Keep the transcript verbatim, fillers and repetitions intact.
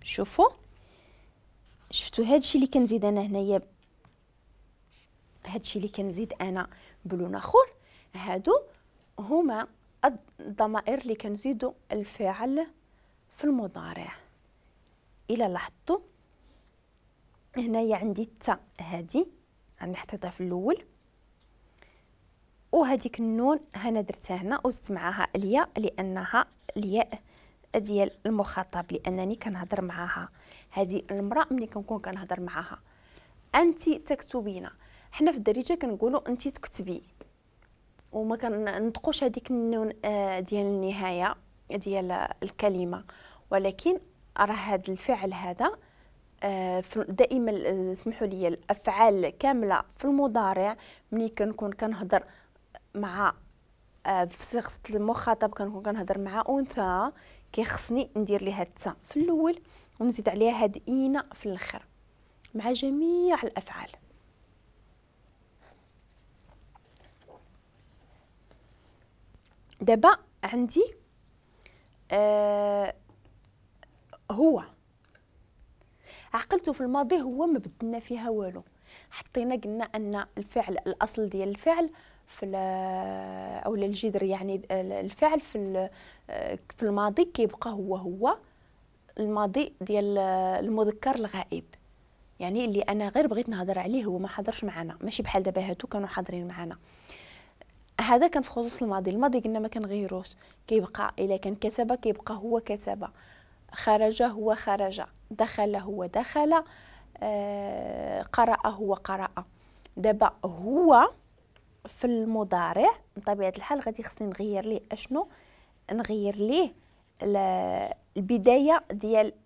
شوفوا، شفتوا هادشي اللي كنزيد انا هنايا، هادشي اللي كنزيد انا بلون اخر، هادو هما الضمائر اللي كنزيدو الفعل في المضارع. الى لاحظتوا هنايا عندي التاء هادي راني حطيتها في الاول، وهذيك النون هنا درتها هنا وزدت معاها الياء لانها الياء ديال المخاطب، لانني كنهضر معاها. هذه المراه ملي كنكون كنهضر معاها. انت تكتبين، حنا في الدارجه كنقولوا انت تكتبي، وما كننطقوش هذيك النون آه، ديال النهايه ديال الكلمه، ولكن راه هذا الفعل هذا آه، دائما آه، سمحوا لي، الافعال كامله في المضارع ملي كنكون كنهضر مع في صيغه المخاطب، كنكون كنهضر مع انثى، كيخصني ندير ليها التاء في الاول ونزيد عليها هاد اينا في الاخر مع جميع الافعال. دابا عندي آه هو، عقلته في الماضي هو ما بدلنا فيها والو، حطينا قلنا ان الفعل الاصل ديال الفعل في او الجذر، يعني الفعل في في الماضي كيبقى هو هو الماضي ديال المذكر الغائب، يعني اللي انا غير بغيت نهضر عليه هو ما حضرش معنا، ماشي بحال دابا هادو كانوا حاضرين معنا. هذا كان في خصوص الماضي. الماضي قلنا ما كنغيروش، كيبقى الا كان كتب كيبقى هو كتب، خرج هو خرج، دخل هو دخل، آه، قرأ هو قرأ. دابا هو في المضارع بطبيعة الحال غادي خصني نغير ليه اشنو؟ نغير ليه البداية ديال